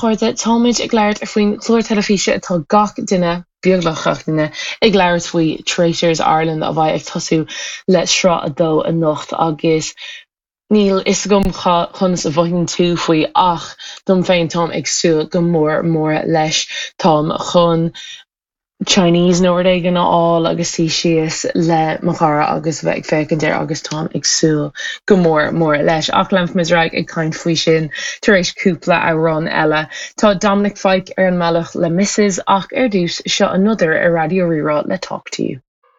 Chairde, táimid ag labhairt faoin chlár teilifíse atá gach duine, beagnach gach duine, ag labhairt faoi, Traitors Ireland, a bheidh ag tosú le sraith a dó anocht agus níl fhios agam conas a mhothaíonn tú faoi ach dom féin táim ag súil go mór mór leis. Táim chun Chinese nó rud éigin a fháil agus suí síos le mo chara agus a bheith ag féachaint air agus táim ag súil go mór mór leis. Ach leanfaimid ar aghaidh ag caint faoi sin tar éis cúpla amhrán eile. Tá Dominic Fike ar an mbealach le Mrs ach ar dtús, seo Another ar Raidió Rí-Rá le Talk to You.